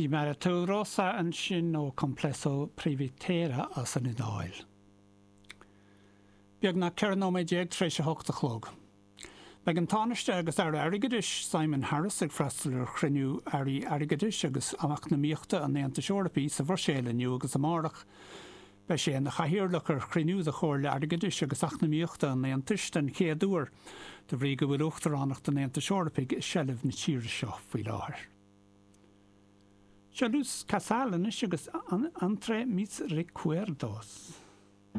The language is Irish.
Si m'era tu rosa ansin ó Complesso Privitera as an Iodáil. Beagnach 14 nóiméad tar éis a hocht a chlog. Beidh an Tánaiste agus Aire Airgeadais, Simon Harris ag freastal ar chruinniú Airí Airgeadais agus Eacnamaíochta an Aontais Eorpaigh sa Bhruiséil inniu agus amárach. Beidh sé ina chathaoirleach ar chruinniú de Chomhairle Airgeadais agus Eacnamaíochta an Aontais den chéad uair, de bhrí go bhfuil Uachtaránacht an Aontais Eorpaigh i seilbh na tíre seo faoi láthair. Seo Luz Casal anois agus Entre Mis Recuerdos.